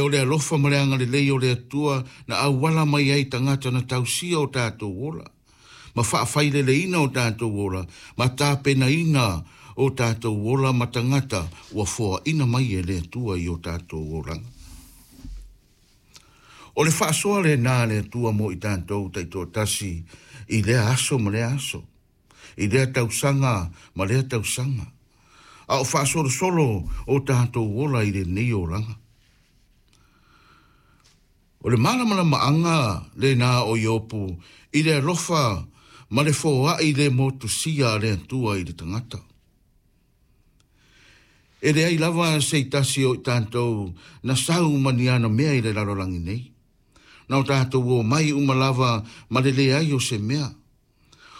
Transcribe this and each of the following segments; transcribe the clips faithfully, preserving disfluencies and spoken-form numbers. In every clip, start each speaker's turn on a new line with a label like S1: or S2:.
S1: o le alofa ma le agalelei o le Atua na auala mai ai tagata na tausia o tatou ola, ma faafaileleina o tatou ola, ma tapenaina o tatou ola ma tagata ua foaina mai e le Atua i o tatou olaga. O le faasoa lenā a le Atua mo i tatou taitoatasi i lea aso ma lea aso, i lea tausaga ma lea tausaga, a o faasolosolo o tatou ola i lenei olaga. O le malamalamaaga lenā o Iopu i le alofa ma le foai le motusia a le Atua i le tagata. E leai lava se tasi o i tatou na sau ma ni ana mea i le lalolagi nei. Na o tatou omai uma lava ma le leai o se mea.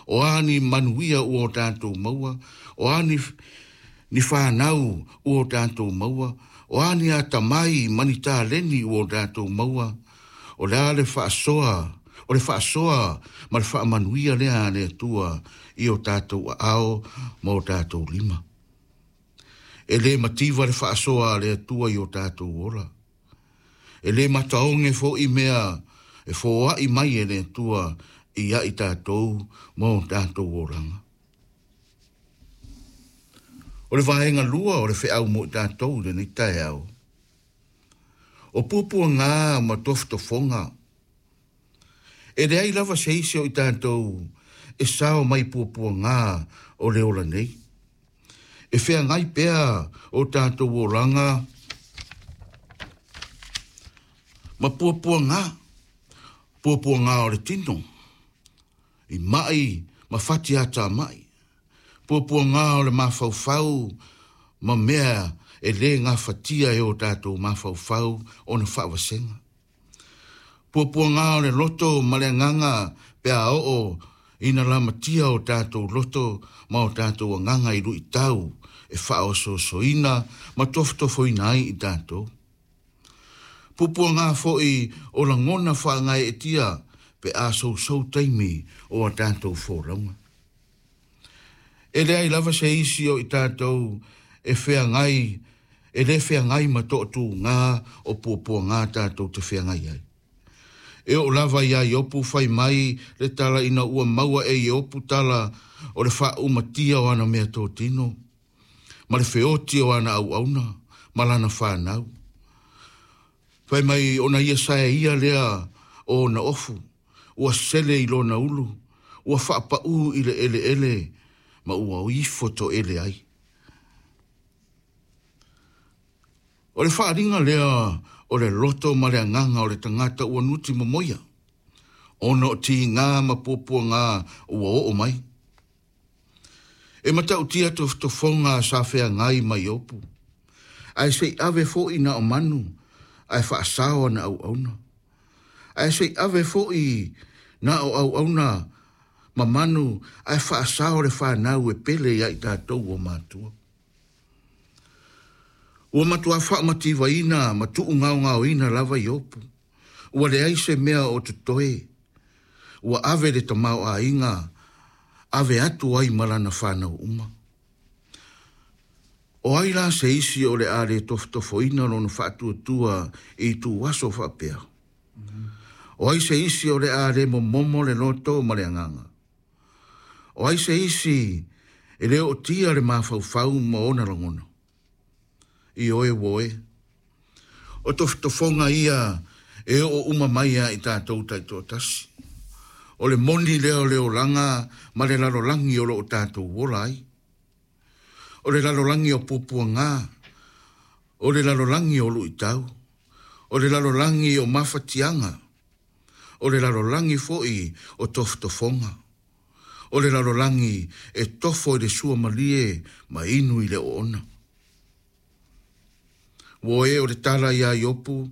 S1: O a ni manuia ua o tatou maua, o a ni, ni whanau ua o tatou maua, o a ni atamai ma ni taleni ua o tatou maua, o le a le faasoa, o le faasoa ma le faamanuia lea a le Atua i o tatou aao ma o tatou lima. E le mativa le faasoa a le Atua i o tatou ola. E le mataoge fo'i mea e foa'i mai e le Atua ia i tatou ma o tatou olaga. O le vaega lua o le feau mo i tatou i lenei taeao. O puapuaga ma tofotofoga. E leai lava se isi o i tatou e sao mai puapuaga o le ola nei. E feagai pea o tatou olaga ma puapuaga, puapuaga o le tino, i mai ma fati ata mai, puapuaga o le mafaufau ma mea e le gafatia e o tatou mafaufau ona faavasega. Puapuaga o le loto ma le agaga pe a oo ina lamatia o tatou loto ma o tatou agaga i luitau e faaosoosoina ma tofotofoina ai i tatou. Puapuaga fo'i o lagona faagaeetia pe a sousou taimi o a tatou folauga. E leai lava se isi o i tatou e feagai, e le feagai ma toatuga o puapuaga tatou te feagai ai. E oo lava ia Iopu fai mai le tala ina ua maua e Iopu tala o le faaumatia o ana mea totino, ma le feoti o ana auauna, ma lana whanau. Fai mai ona ia sae ia lea o ona ofu, ua sele i lona ulu, ua faapau i le eleele, ma ua ifo toele ai. O le faaaliga lea o le loto ma le agaga o le tagata ua nuti momoia, ona o tiga ma puapuaga ua oo mai. E matautia tofotofoga sa feagai ma Iopu, ae se i ave fo'i na o manu, ae faasao ana auauna. Ae se i ave fo'i na o auauna ma manu, ae faasao le whanau e pele ia i tatou o matua. Ua matua faamativaina ma tuugaogaoina lava Iopu. Ua leai se mea o totoe. Ua ave le tamaoaiga, ave atu ai ma lana whanau uma. O ai la se isi o le a le tofotofoina lona faatuatua i tuaso faapea. O ai se isi o le a le momomo le loto ma le agaga. O ai se isi e le ootia le mafaufau ma ona lagona. I oe woe. O tofotofoga ia e oo uma mai ia i tatou taitoatasi. O le moni lea o le olaga ma le lalolagi o loo tatou ola ai. O le lalolagi o puapuaga, o le lalolagi o luitau, o le lalolagi o mafatiaga, o le lalolagi fo'i o tofotofoga, o le lalolagi e tofo i le suamalie ma inu i le oona. Ua e o le tala ia Iopu,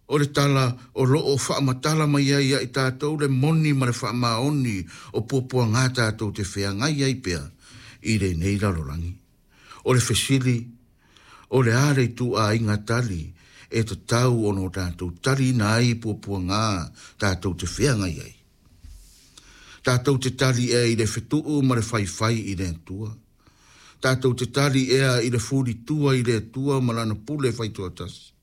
S1: o le tala o loo faamatala mai ai ia i tatou le moni ma le faamaoni o puapuaga tatou te feagai ai pea i lenei lalolagi. O le fesili, o le a le ituaiga tali e tatau ona o tatou taliina ai puapuaga tatou te feagai ai. Tatou te tali ea i le fetuu ma le faifai i le Atua. Tatou te tali ea i le fulitua i le Atua ma lana pule faitoatasi.